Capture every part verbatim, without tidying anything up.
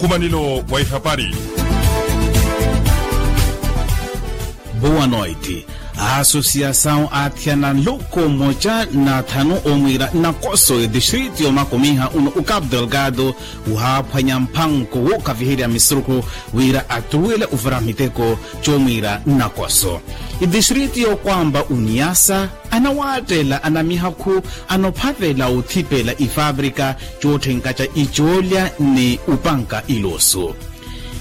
Nkumanelo wa ihapari. Boa noite. Aasosiyasawu aathiyana nluko mmoca na thanu omwiira nnakoso etistriti yoomakumiha uno ukapu delgado, woohaaphwanya mpanko wookhaviherya misurukhu wira atuwele ovara miteko coomwiira nnakoso. Etistriti yookwampa uniyasa, anawaattela anamihakhu anophavela othipela ifaprika cootthenkatxa icoolya ni opanka ilusu.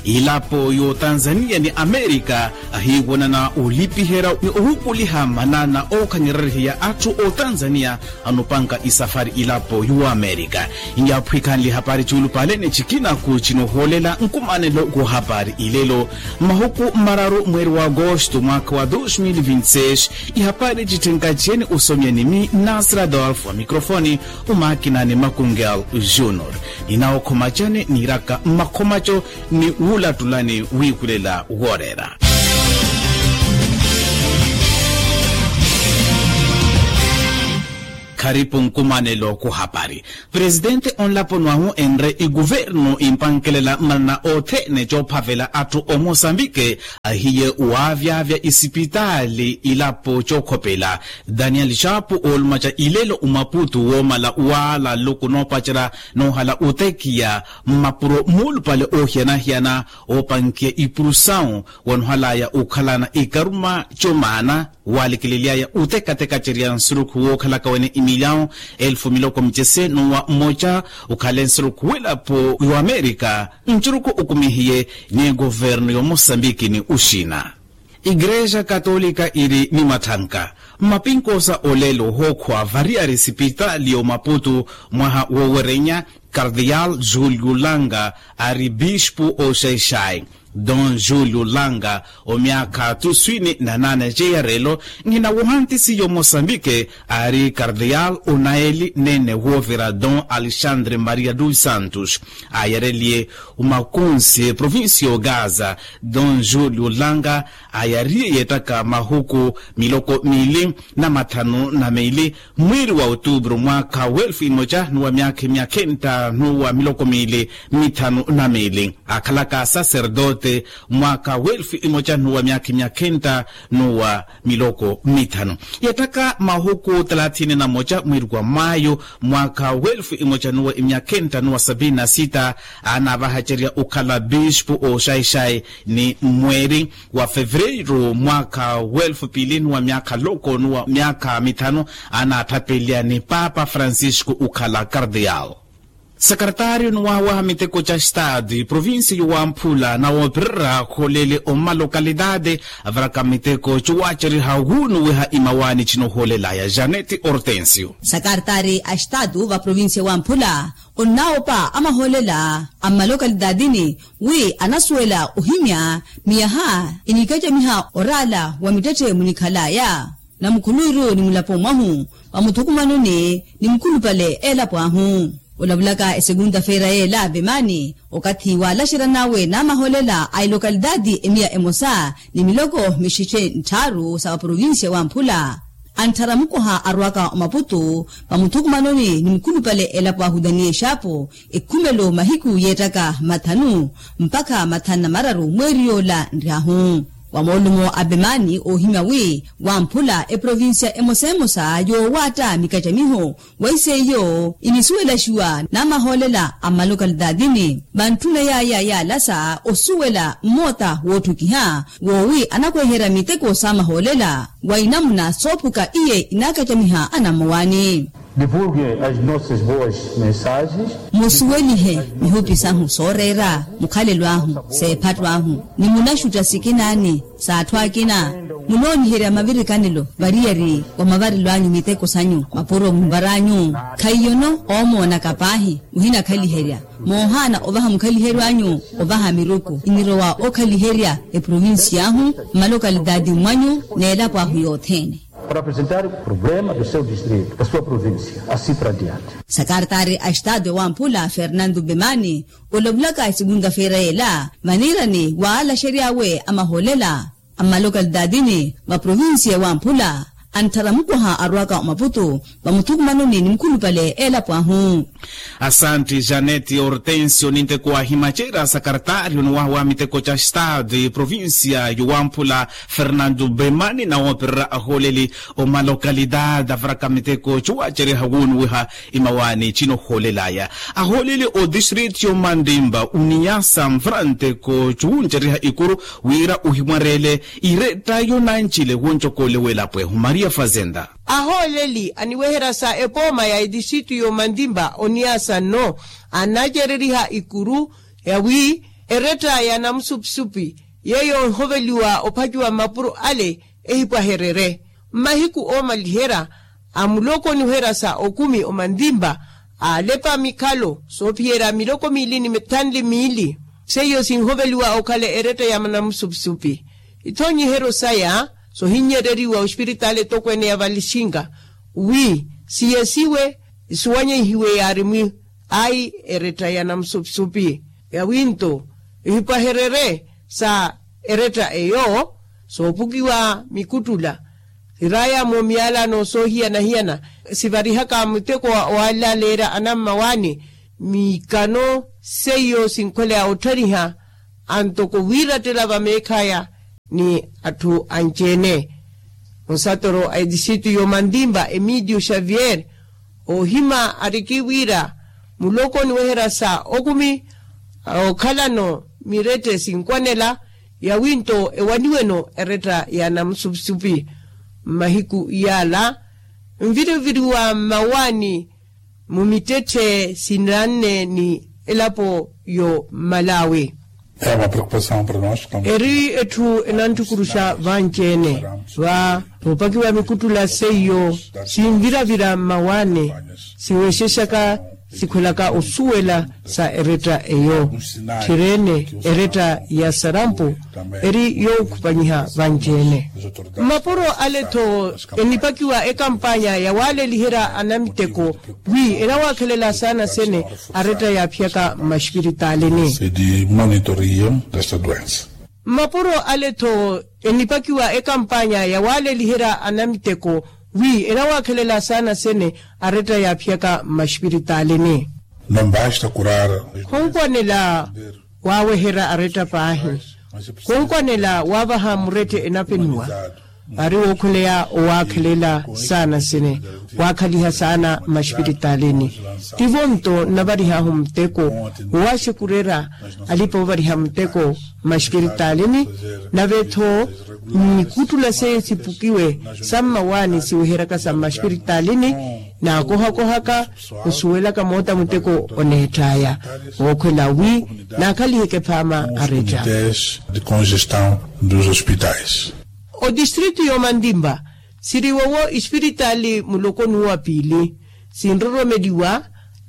Ilapo y'otanzaniya ni amerika ahiiwonana olipiherya ni ohukuliha manana ookhanyererihiya atthu otanzaniya anopanka isafari ilapo y'oamerika. Nyaphwikhanle hapari cuulupale ni cikinaku cinoohoolela nkumanelo k'ohapari ilelo. Mahuku mararu mweeri wa agosto mwaakha wa dos mil vinti seis. Ihapari citthenka ciyeni osomyani mi nasra adolf wa mikrofoni. Omaakina ni makungel junior. Ninawo khomacani niiraka mmakhomaco ni wuulattulani wiikhulela wooreera. Kharipu nkumanelo khuhapari. Presitente onlaponi wahu enre ikuvernu impankelela manana othene coophavela atthu omosambike. Ahiye waavyavya isipitaali ilapo cookhopela. Daniel chapu oolumaca ilelo omaputu woomala waala nluku noopacerya noohala otekiya mmapuro muulupale oohiyana-hiyana oopankiya ipuru sawu. Wanohalaya okhalana ikaruma comaana waalikelelyaya otekatekacerya nsurukhu wookhalaka wene imilyawu elfu miloko micese n'uwa mmoca okhale nsurukhu w'elapo y'oamerika. Ncuruku okumihiye ni egovernu y'omosambiki ni oxina. Igrexa katolika iri ni matthanka mmapinkoosa olelo hookhwa variyari sipitaali y'omaputu. Mwaha woowerenya kardeal julio langa aari bispu oxaixai. Don julio langa omyaakha tuswini na naana ceyarelo nhina wohantisi y'omosambike aari kardeal onaeli nene woovira don alexandre maria dos santos. Ayareliye omakunsi provincia y'ogaza. Don julio langa ayariye yeettaka mahuku miloko miili na mathanu na miili mwiiri wa otupuru mwaakha w'elfu imoca n'uwa myaakha imyakhenta n'uwa miloko miili mithanu na miili. Akhalaka sacerdote mwaakha w'elfu imoca n'uwa myaakha imyakhenta n'uwa miloko mithanu. Yeettaka mahuku talathini na moca mwiiri wa mayo mwaakha w'elfu imoca n'uwa imyakhenta n'uwa sapini na sita. Anaavahacerya okhala bispu oxaixai ni mweeri wa fevereiru mwaakha w'elfu piili n'uwa myaakha loko n'uwa myaakha mithanu. Anaatthapelela ni paapa francisco okhala kardeal. Sekretaariyo ni waawaha miteko ca estado provincia y'owamphula nawoopererya akholele ommalokalitati avaraka miteko cowaaceriha wuunuwiha imawaani cinoohoolelaya janeti hortensio. Sekretaari a estado va provincia y'owamphula onnaawopa amahoolela a mmalokalitatini wi anasuwela ohimya miyaha enikacamiha oraala wa mittetthe munikhalaya na mukhuluuru ni mulapo mwahu va muthukumanoni ni mukhulupale eelapo ahu. Olavulaka esekunta feira yeela vemani okathi waalaxeryan'awe n'amahoolela a elokalitati emiya emosa ni miloko mixixi nttharu sa va provincia y'owamphula antthara mukoha arwaka omaputu va muthukumanoni ni mukhulupale eelapo ahu daniel exaapo ekhumelo mahiku yeettaka mathanu mpakha mathanu na mararu mweeri yoola nryahu. Wa moolumo a pemaani oohimya wi wamphula eprovincia emosa emosa yoowaatta mikacamiho wa iseiyo inisuwelaxiwa n'amahoolela a mmalokalitatini vantthuna yaya yaalasa osuwela mmoota wootthukiha woowi anakweherya miteko s'amahoolela wa inamuna soophuka iye inaakacamiha anammowaani. Divulguem as nossas boas mensagens. Musuwelihe mihupi sahu sooreera mukhalelo ahu seephatto ahu ni munaxutta sikinaani s'atthu akina munooniherya mavirikanelo variyari wa mavarelo anyu miteko sanyu mapuro munvar'anyu khaiyono oomoonaka paahi muhinakhaliherya moohaana ovaha mukhaliheryo anyu ovaha miruku inirowa okhaliherya eprovincia ahu mmalokalitati mwanyu n'elapo ahu yothene. Para apresentar o problema do seu distrito da sua provincia assi para diante. Sakartari a estado ewamphula fernando bemani olavulaka esekunta feira yeela vaniirani waalaxery'awe amahoolela a mmalokalitatini va provincia ewamphula Antthara mukwaha arwaka omaputu vamuthukumanoni ni mukhulupale elapo ahu. Asanti janeti hortensio ninteko wahima cera sakartario ni waha wa miteko ca stade provincia yuwamphula fernando bemani na woopererya ahooleli omalokalidade avaraka miteko cuwacereha wunuwiha imawaani cino hoolelaya ahooleli o distrito yo mandimba uniyasa mvara nteko cuwunceriha ikuru wira uhimwarele iretta yo nancile woncokoole welapo ehu maria fazenda. Ahooleli aniweherya sa epooma ya edisitu yo mandimba oniyasa nno anacereriha ikuru yawi eretta ya namusupisupi yeyo onhoveliwa ophakiwa mmapuro ale ehipwahererye mmahiku oomaliherya a muloko oniweherya sa okumi omandimba aalepa mikhalo soophiyerya miloko miili ni mithanli miili seiyo sinhoveliwa okhala eretta ya namusupisupi. Ithoonyiheryo saya sohinnyereriwa ospiritaali etokweene ya valixinga wi siyesiwe isuwanyehiwe yaari mwi ayi eretta ya namusupisupi yawinto ihipwahererye sa eretta eyo soopukiwa mikuttula siraya moomiyalano soohiyana-hiyana sivarihaka muteko waalaleerya anammawaani mikano seiyo sinkhweleya otthaniha antoko wiirattela vameekhaya ni atthu anci-ene onsatoro a edisitu yo mandimba emilio xavier oohima ariki wira muloko oniweherya sa okumi okhalano mirette sinkwanela yawinto ewaniweno eretta ya namusupisupi mmahiku yaala nviriviriwa mmawaani mu mittetthe sinanne ni elapo yo malawi. Eri etthu enanttukuruxa vanci-ene va voopakiwa mikuttula seiyo sinviravira mmawaani siwexexaka sikhwelaka osuwela sa eretta eyo tthiri-ene eretta ya sarampu eri yookhupanyiha vanci-ene mmapuro ale-tho enipakiwa ekampanya ya waaleliherya anamiteko wi enawaakhelela saana sene aretta yaaphiyaka mmaxipiritalini. Mmapuro ale-tho enipakiwa ekampanya ya waaleliherya anamiteko wi enawaakhelela saana sene aretta yaaphiyaka mmaxipiritalini. Khonkhwanela waaweherya aretta paahi khonkhwanela waavaha murette enapeniwa vaari wookhweleya owaakhelela saana sene waakhaliha saana mmaxipiritalini tivo nto nnavarih'ahu muteko woowaxekurerya alipa oovariha muteko mmaxipiritalini nave-tho ni kuttula seiyo sipukiwe sa mmawaani siweheryaka sa mmaxipiritalini naakohakohaka nsuwelaka moota muteko oneetth'aya wookhwela wi naakhaliheke phaama aretta. Odistritu y'omandimba siri wowo ispiritaali muloko n'uwa piili sinroromeliwa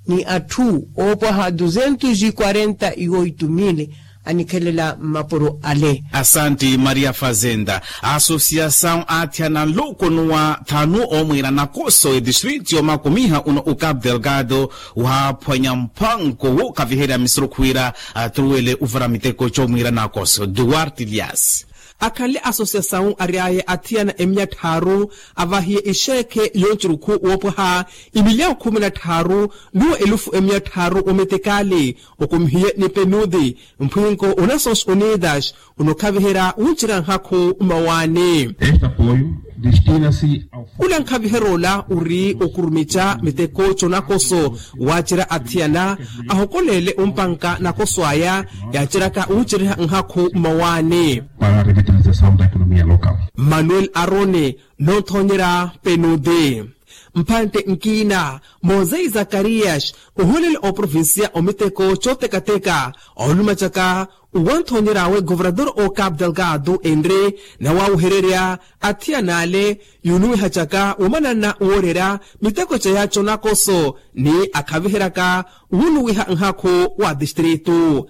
ni atthu oopwaha duzentos e quarenta e oito mil anikhelela mmapuro ale. Asanti maria fazenda asosiasawu aathiyana nloko nuwa thanu oomwiira nakoso etistriti yoomakumiha uno ucap delgado waaphwanya mpanko wookhaviherya misurukhu wira atruwele uvara miteko coomwiira nakoso duarte lias. Akhanle asosiasawu ary'aya athiyana emiya tthaaru avahiye ixeekhe y'oncurukhu woopwaha imilyawu khumi na tthaaru nuwo elufu emiya tthaaru ometekali okumihiye ni penude mphwinko o nações unidas onokhaviherya wuncira nhakhu mmawaani. Ula nkhaviherya ola ori okurumica miteko conakoso waacira athiyana ahokoleele ompanka nakoso aya yaaceraka wunciriha nhakhu mmawaani. Manuel aroni nonthoonyerya penude mphantte nkiina mosei zakarias ohuulela oprovincia omiteko cootekateka oolumacaka owanthonyeryawe governador o cabo delgado enri nawaawehererya athiyana ale yunuwihacaka womananna woorerya miteko ceya conakoso ni akhaviheryaka wunuwiha nhakhu wa tistritu.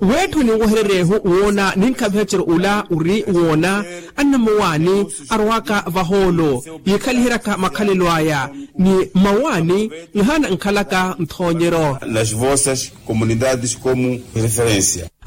Weetthuni nwehereryehu woona ninkhavihaceryo ula ori woona annamuwaani arowaka vahoolo yiikhaliheryaka makhalelo aya ni mmawaani nhaana nkhalaka nthoonyeryo. Nas vossas comunidades como referencia.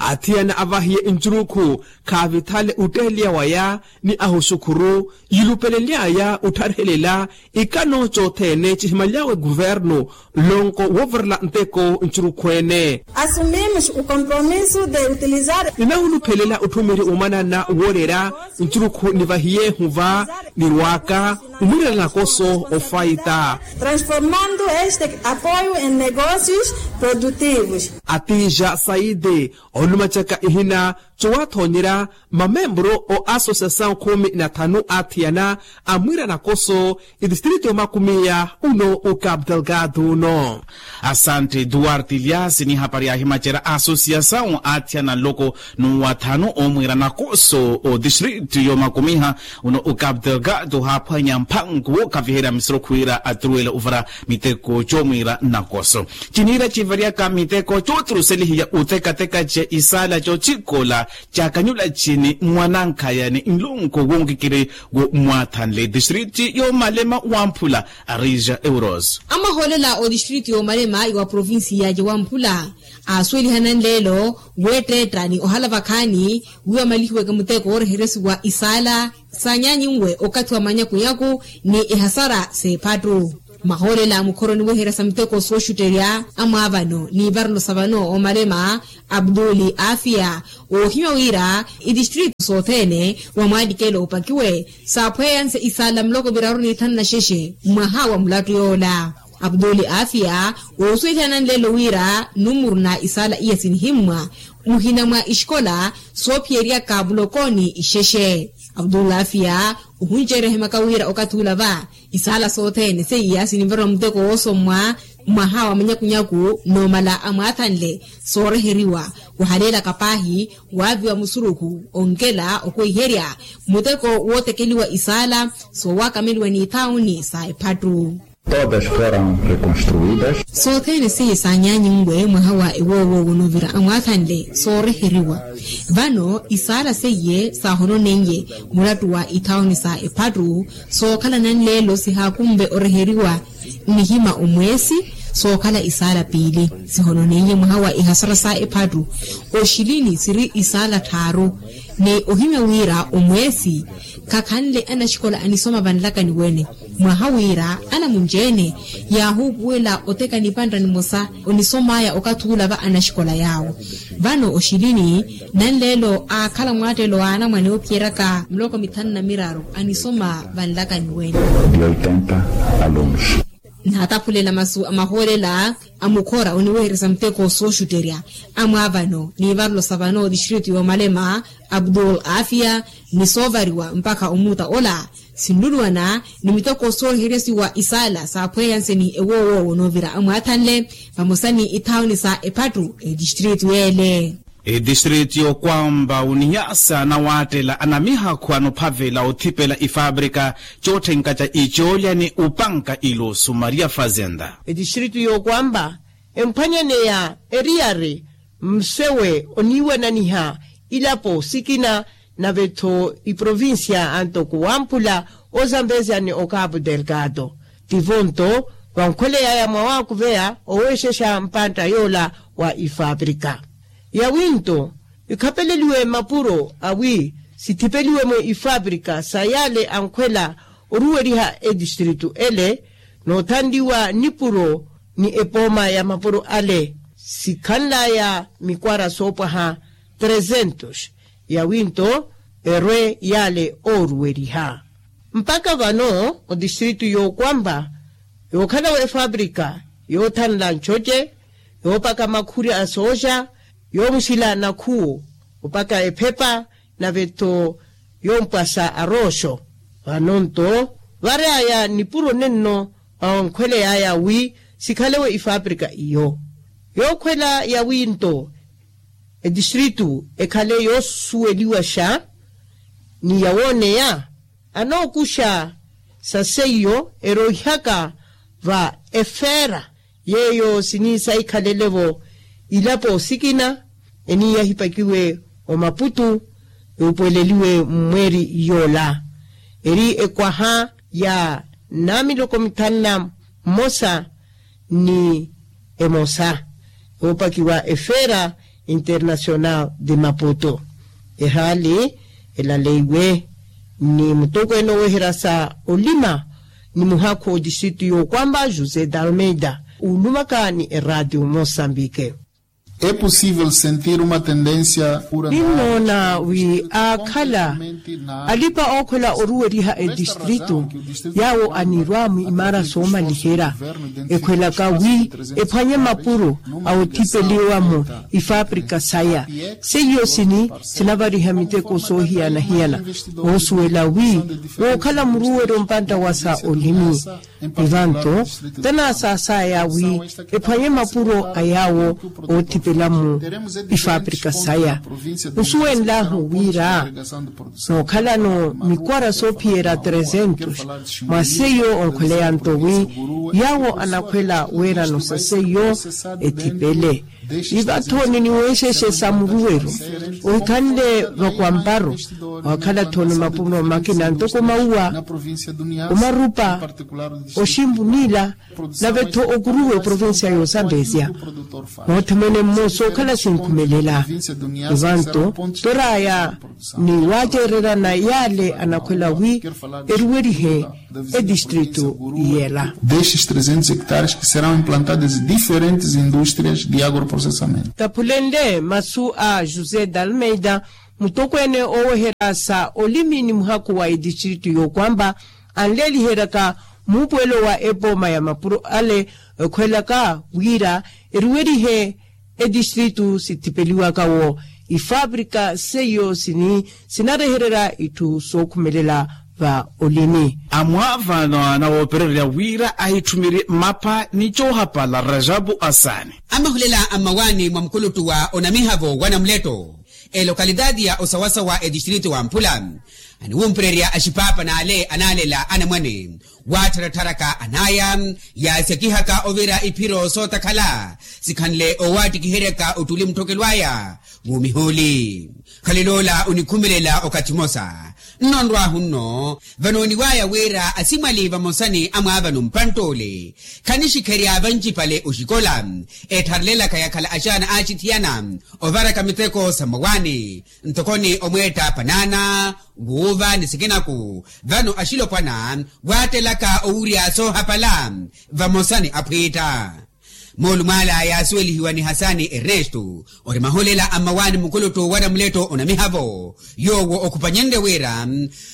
Athiyana avahiye ncurukhu khaavithale otteeliya waya ni ahuxukhuru yilupelenly'aya ottharehelela ikano cothene cihimaly'awe kuvernu. Nlonko woovarela nteko ncurukhu ene. Assumimos o compromisso de utilizar. Ninahuluphelela otthumiri omanana woolera ncurukhu nivahiyehu va nirw'aka omwiirela nakoso ofaita. Transformando este apoio em negócios produtivos. Atija saide olumacaka ihina cowathoonyerya mamemburo o asosiasawu khumi na thanu athiyana amwiira nakoso itistritu yomakumiya uno o capu delgado uno. Asanti duarte iliasi ni hapari yaahimacerya asosiasawu athiyana nloko n'uwathanu omwiira nakoso o tistritu yomakumiha uno o capu delgado haaphwanya mphanku wookhaviherya misurukhu wira aturuwela ovara miteko coomwiira nakoso. Ciniira ciivaryaka miteko cooturuselihiya otekateka ce isaala cocikola cakanyula cini mwanankhaya ni nlonko wonkikiri wo mwaathanle distriti yoomalema wamphula. Arija euros amahoolela o distriti yoomalema iwa provinsiya yawamphula aasuwelihana nleelo weetteetta ni ohala vakhaani wiwamalihiweke muteko wooreheryesiwa isaala saanyanyinwe okathi wa manyakunyaku ni ehasara s'ephattu. Mahoolela a mukhoroni weherya sa miteko sooxutterya amwaavano n'ivarelo sa vano omalema abduli afia oohimya wira itistritu sothene wa mwaalikelo opakiwe saaphweyanse isaala muloko viraru n'ithanu na xexe mwaha wa mulattu yoola. Abduli afia oosuwelihana nleelo wira numuru na isaala iya sinihimmwa muhina mwa ixikola soophiyeryaka mulokoni ixexe. Abdul afia ohunceerya ohimaka wira okathi ula va isaala sothene seiya sinivariwa muteko woosommwa mwaha wa manyakunyaku n'omala amwaathanle sooreheriwa wahaleelaka paahi waaviwa musurukhu onkela okwehiherya muteko wootekeliwa isaala soowakameliwa n'ithauni sa ephattu. Todas foram reconstruídas. Sothene seiye saanyanyinwe mwaha wa ewoowo wonovira amwaathanle sooreheriwa. Vano isaala seiye saahononeiye mulattu wa ithauni sa ephattu sookhala nanleelo sihaakunve oreheriwa nihima omweesi sookhala isaala piili sihononeiye mwaha wa ihasara sa ephattu. Oxilini siri isaala tthaaru ni ohimya wira omweesi khakhanle anaxikola anisoma vanlakani wene mwaha wira anamunci-ene yaahuupuwela oteka nipantta nimosa onisom'aya okathi ula va anaxikola yaawo. Vano oxilini nanleelo aakhala mwaattelo a anamwane oophiyeryaka miloko mithanu na miraru anisoma vanlakani wene. Naataphulela masu a mahoolela a mukhora oniwehererya sa muteko sooxutterya amwaavano n'ivarelo sa vano distritu yoomalema abdul afia ni soovariwa mpakha omuuta ola sinluluwana ni miteko sooreheryesiwa isaala saaphweyanse ni ewoowo wonovira amwaathanle vamosa ni ithauni sa ephattu etistritu yeele. Etistritu y'okwamba oniyaasa nawaattela anamihakhu anophavela othipela ifabrika coothenka ca icoolya ni opanka ilusu maria fazenda. Etistritu y'okwamba emphwanyaneya eriyari msewe oniiwananiha ilapo sikina nave-tho iprovincia antoko wamphula ozambezia ni okapu delgado tivo-nto vankhweleyaya mwa waakuveya oweexexa mpantta yoola wa ifabrika. Yawi-nto ikhapeleliwe mapuro awi sithipeliwe-mo ifabrika sa yale ankhwela oruweliha etistritu ele noothanliwa nipuro ni epooma ya mapuro ale sikhanlaya mikwara soopwaha trezentos. Yawi-nto erwe yale ooruweliha mpakha vano otistritu y'okwamba yookhalawe efabrika yoothanla nchoce yoopaka makhuri a sooxa yoomusila nakhuwo opaka ephepa nave-tho yoompwasa arooxo. Vano-nto vary'aya nipuro nenno vankhweley'aya wi sikhalewe ifaprika iyo yookhwela yawi-nto etistritu ekhale yoosuweliwaxa ni yawooneya anookuxa sa seiyo eroihaka va efeera yeeyo siniisaikhalele-vo ilapo sikina eniiyahipakiwe omaputu yoopweleliwe mmweeri yoola eri ekwaha ya namiloko mithanu na mmosa ni emosa yoopakiwa efeera international de maputo. Ehaali elaleiwe ni mutokweene oweherya sa olima ni muhakhu otistritu y'okwampa josé d'almeida, oolumaka ni eraatiyo mosambike. É possível sentir uma tendência. Ninnoona wi aakhala alipa ookhwela oruweriha etistritu yaawo anirwa mwimaara soomaliherya ekhwelaka wi ephwanye mapuro a othipeliwa-mo ifaaprika saya. Seiyo sini sinavariha miteko soohiyana-hiyana. Woosuwela wi wookhala muruweryo mpantta wa sa olimi. Ivanto tanaasasaya wi ephwanye mapuro a yaawo oothipela-mu ifaaprika saya. Nsuwenlahu wira nookhalano mikwara soophiyerya trezentos mwa seiyo onkhweleyanto wi yaawo anakhwela weerano sa seiyo ethipele. Iva-tho niniweexexe sa muruweryo ohikhanle vakwamparo. Waakhala-tho ni mapuro makina ntoko mauwa, omarupa, oximpu niila nave-tho okuruwe provincia y'osambesia. Moothimene mmosa okhala sinkhumelela. Ivanto toraya ni waacererana yaale anakhwela wi eruwerihe etistritu yela. Destes trezentos hectares que serão implantadas diferentes indústrias de agroprocessamento. Taphulenle masu a josé d'almeida, mutokweene ooweherya sa olimi ni muhakhu wa etistritu y'okwampa anleeliheryaka muupuwelo wa epooma ya mapuro ale, ekhwelaka wira eruwerihe etistritu sithipeliwaka-wo ifaaprika seiyo sini sinarehererya itthu sookhumelela va olimi. Amwaavano anawoopererya wira ahitthumiri mapha ni coohapala rajapu asaani. Amahulela a mmawaani mwa mukuluttu wa onamiha-vo wa namuletto elokalitaati ya osawasawa etistritu wa mphula aniwumpererya axipaapa n'ale anaalela anamwane waattharatharaka anaaya yaasekihaka ovira iphiro sootakhala sikhanle owaattikiheryaka ottuli mutthokelo aya w'omihooli. Khaliloola onikhumelela okathi mmosa nnonrwahu nno vanooniwaya wira asimwali vamosa ni amwaavano mpantt'ole khanixikherya vancipale oxikola ettharelelaka yakhala axaana aaxithiyana ovaraka miteko sa mmawaani ntokoni omweetta panaana wuuva ni sikinaku vano axilopwana waattelaka owurya soohapala vamosa ni aphwiitta. Moolumwaala yaasuwelihiwa ni hasani ernesto ori maholela a mmawaani mukuluttu wa namuletto onamiha-vo yoowo okhupanyenrye wira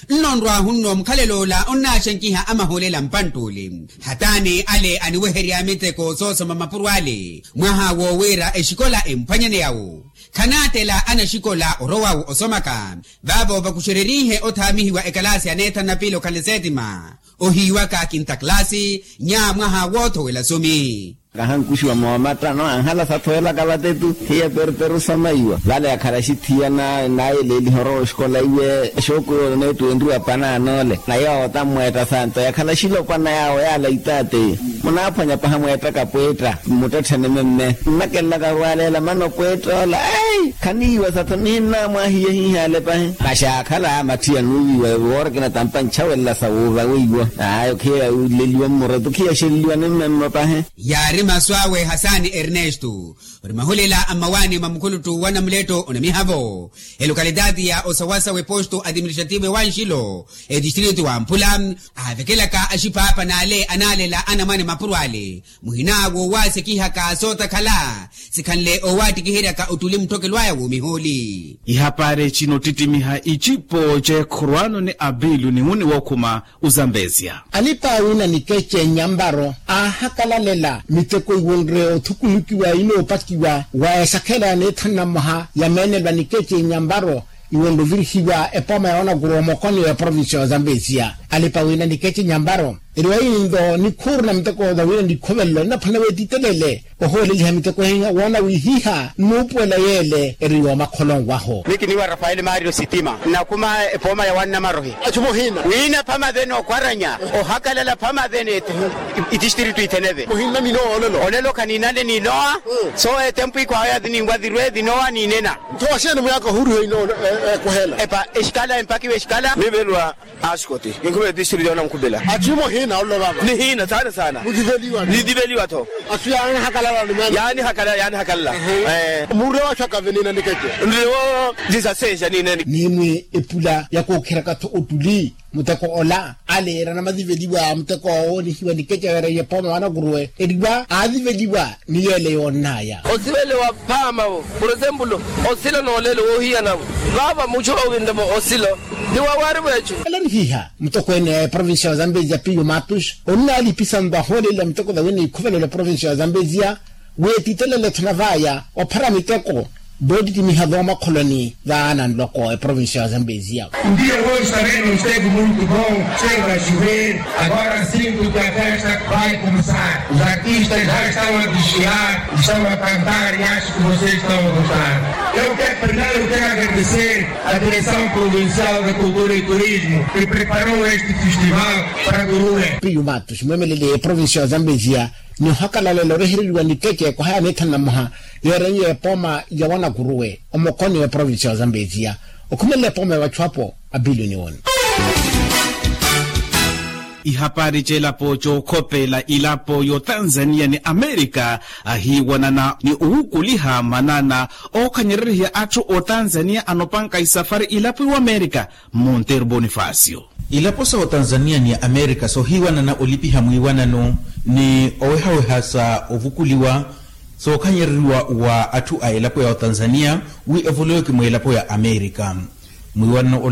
nnonrwahu nno mukhalel'ola onnaaxenkiha amaholela mpantt'ule hataani ale aniweherya miteko soosoma mapuro ale mwaha woowiira exikola emphwanyaneya-wo khanaattela anaxikola orowa-wo osomaka vaavo vakuxererihe othaamihiwa ekalaasi ya neethanu na piili okhale setima ohiiwaka kinta kalaasi nya mwaha woothowela sumi. Kahankuxiwa moomatta no anhala sathowelaka vatetu hiya perperu samaiwa vale yakhala axithiyana naayeleeliha orowa oxikola iwe xookuya oneettwenriwa panaana ole na yoowo tammweetta santo yakhala axilopwana yaawo yaala itaateye munaaphwanya paha mweettaka pweetta mmuttetthene memme nnakelelaka orwaaleela mana opweetta ola ai khaniiwa satho nihinnamwaahiye hiihaale pahi. Maxaakhala mathiya nuuwiwa evo woora kinatampa nchawelela sa wuuva weiwa ayo khiya yuleliwa mmuratu khiya axeleliwa ni mmemma pahi. Yaari masu awe hasani ernesto ori mahulela a mmawaani mwa mukhuluttu wa namuletto onamiha-vo elokalitaati ya osawasawa eposto atiministrativo ewanxilo etistritu wa mphula aavekelaka axipaapa n'ale anaalela anamwane mapuro ale muhina woowaasekihaka sootakhala sikhanle owaattikiheryaka ottuli mutthokelo aya w'omihooli. Ihapaari eci inottittimiha icipo c'ekhurwaano ni apiilu ni wuni wookhuma ozambezia. Alipa awiina nikece nyamparo aahakalalela miteko iwonre othukulukiwa inoopakiwa wa esakhela ya neethanu na mmoha ya meenelwa nikece nyamparo iwonre ovirihiwa epooma ya wanakuruwa omokoni ya provincia ya ozambezia. Alipa awiina nikece nyamparo eri wainto nikhuuru na miteko za wiina nikhovelelo ninaphwanawe etitelele ohooleliha miteko hiiha woona wi hiiha nnuupuwela yeele eri yoomakholonwaho. Ni kiniiwa rafael mario sitima nnakhuma epooma ya wannamarohi. Achumo hiina wiina phamavene okwaranya ohakalala phamavene itistritu itheneve muhiina minowa olelo olelo khaninane ninowa. So etempu ikhwaawe athi ninwa thirwe thinowa ninena. Nthowa xeeni muyaka ohuuriha ino? Ekuhela epa exikala empakiwa exikala nivelwa. Axikoti kinkhumela etistritu yoona nkhupela. Achumo hiina. Nihiina saana saana. Nithiveliwa tho. Asu yaanihakalala. Yaanihakalala yaanihakalala. Murre wa xwakave niina nikece. Nriwo. Disaseja niina. Niimwi epula yakookhiraka tho otuli muteko ola aleera namathiveliwa muteko owo nihiwa nikece weereye pooma wanakuruwe eriwa aathiveliwa. Ni yeele yoonn'aya. Osiveliwa phaama-vo. Por exempulo osilo n'olelo woohiyana-vo. Vaava muchu oowinre-vo osilo ni wawaari-vo echu. Ela nihiiha mutokweene a eprovincia ya zambezia piyu matus onnaalipisanva hoolelela miteko thawe ni ikhuvelelo eprovincia ya zambezia wi etiitelele-tho navaaya ophara miteko. Vootittimiha voomakholoni vaana nloko eprovincia ya zambezia. Ndia hoje também não esteve muito bom, esteve a chover. Agora sinto que a festa vai começar. Os artistas já estão a desfilar, estão a cantar e acho que vocês estão a gostar. Eu quero primeiro quero agradecer a direção provincial da cultura e turismo que preparou este festival para Gurue. Piyu matus mweemeleli eprovincia ya zambezia ni ohakalalela orehereriwa nikece ekoha ya miithanu na mmoha yeerenye epooma ya wanakuruwe omokoni wa eprovincia ya zambezia. Okhumelela epooma ya vachu apo apilioni woni. Ihapari c'elapo c'okhopela ilapo y'otanzania ni amerika ahiiwanana ni owukuliha manana ookhanyererehiya atthu otanzania anopanka isafari ilapo y'amerika. Monteiro bonifacio. Ilapo sa otanzania ni amerika soohiiwanana olipiha mwiiwanano ni owehaweha sa ovukuliwa sookhanyereriwa wa atthu a elapo ya otanzania wi evoloweke mweelapo ya amerika. Mwiiwanano ola